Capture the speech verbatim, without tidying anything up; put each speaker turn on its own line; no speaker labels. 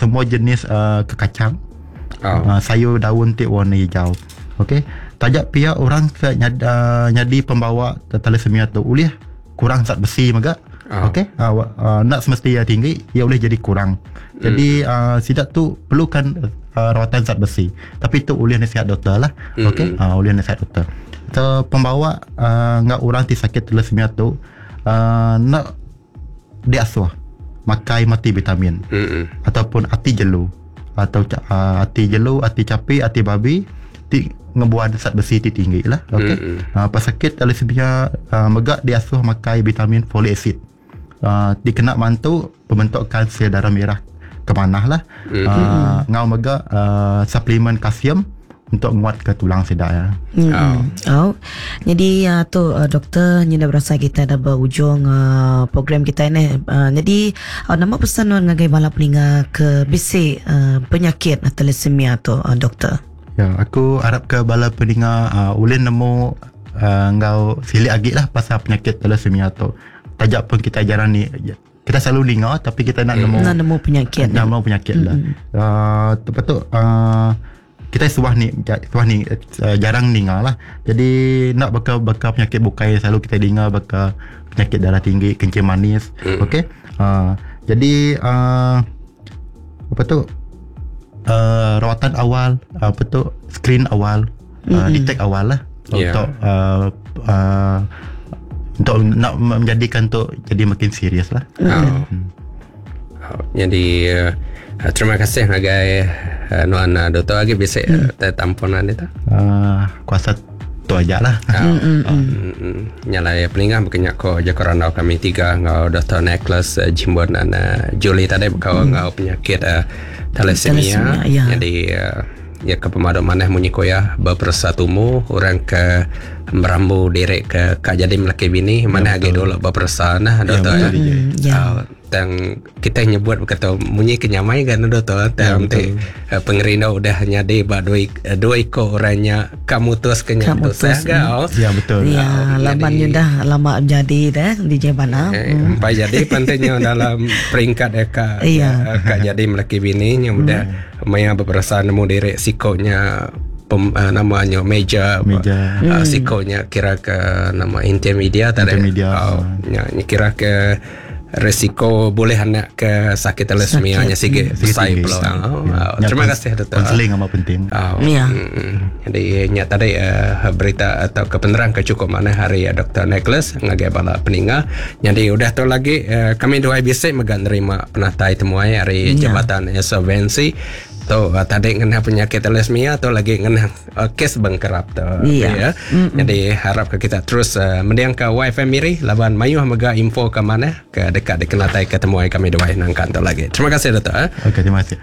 Semua jenis uh, kekacang.
Oh.
Uh, sayur daun ti warna hijau. Okey. Tajak pihak orang ke nyad, uh, nyadi pembawa thalassemia tu ulih kurang zat besi mega.
Oh.
Okey. Uh, uh, nak semesti ia tinggi, ia boleh jadi kurang. Jadi mm. uh, sidak tu perlukan uh, rawatan zat besi. Tapi tu ulih nasihat doktor lah.
Mm.
Okey. Uh, ulih nasihat doktor. So, pembawa uh, ngak orang ti sakit thalassemia tu uh, nak diasuh makai multivitamin
Mm-mm.
ataupun ati jelu atau uh, ati jelu, ati capi, ati babi ti ngebuat zat besi ti tinggi lah. Okey.
Mm-mm.
Uh, pesakit thalassemia uh, megak diasuh makai vitamin folic acid. Uh, dikena bantu pembentukan sel darah merah ke manah lah.
Mm.
Uh, ngau megak uh, suplemen kalsium untuk nguat ke tulang sedak ya.
Hmm.
Oh.
Oh. Jadi uh, tu uh, doktor ni dah berasa kita dah berujung uh, program kita ni. Uh, jadi uh, nama pesan nuan ngagai bala peninga ke bisi uh, penyakit thalassemia tu uh, doktor.
Ya, aku harap ke bala peninga uh, ulih nemu uh, ngau silik agi lah pasal penyakit thalassemia tu. Tajak pun kita jarang ni kita selalu dengar tapi kita nak nemu
Nak nemu penyakit.
nak nemu penyakit lah. Uh, lepas tu uh, kita suah ni suah ni uh, jarang dengar lah. Jadi nak bakal bakal penyakit bukai selalu kita dengar bakal penyakit darah tinggi, kencing manis.
Mm.
Okey. Uh, jadi uh, apa tu uh, rawatan awal, apa tu screen awal, uh, detect awal lah
Ya.
untuk uh, uh, untuk nak menjadikan tu jadi makin serius lah.
Oh. Oh, jadi uh, terima kasih ngagai uh, nuan uh, doktor lagi bisa uh, tamponan itu.
Uh, kuasa tu aja lah.
Mm, mm, mm. Nyalai peningah bukannya ko je korang kami tiga ngau Doktor Nicholas uh, Jimbun dan uh, Julie tadi bekau mm. ngau penyakit uh, thalassemia.
Thalassemia, ya.
Jadi uh, ya ke pemadam maneh munyi koya berpersatumu orang ke merambu diri ke kak jadi melaki bini mana agi dulu berpersa nah doktor ya.
betul,
Hmm, ya.
Uh, tang kita nyebut berkata munyi kenyamai kan doktor tang ti uh, pengerindu udah nyadi ba dua ik- dua iko orangnya kamu terus kenyam tu
Kamu terus,
sah oh.
Ya betul.
Ya, laban
jadi-
dah lama jadi dah di Jebana.
Eh, empai jadi pentingnya dalam peringkat eh, kak
Iya.
eh, kak jadi melaki bini nya udah maya berperasaan nemu diri sikonya pem, uh, namanya meja
Meja.
uh, sikonya kira ke nama intermedia tadi
Intermedia.
oh, nya, nya kira ke risiko boleh anak ke sakit thalassemia nya sige
Sige
besar
tinggi.
peluang oh,
Ya.
oh,
Ya,
terima
kons-
kasih doktor
Konseling amat penting.
Oh,
Ya.
mm, Jadi nya tadi uh, berita atau kepenerang ke cukup mana hari uh, Doktor Nicholas ngagai bala peninga. Jadi udah tu lagi uh, kami dua bisik mega nerima penatai temuai hari
Ya.
Jabatan Insolvensi. Tu uh, tadi ngena penyakit thalassemia tu lagi ngena uh, kes bengkerap tu.
Ya.
Ya. Jadi harap ke kita terus uh, mendiang ke Y F M Miri laban mayuh mega info ke mana ke dekat dikenatai ke temuai kami dua nangkan tu lagi. Terima kasih doktor. Eh.
Okey, terima kasih.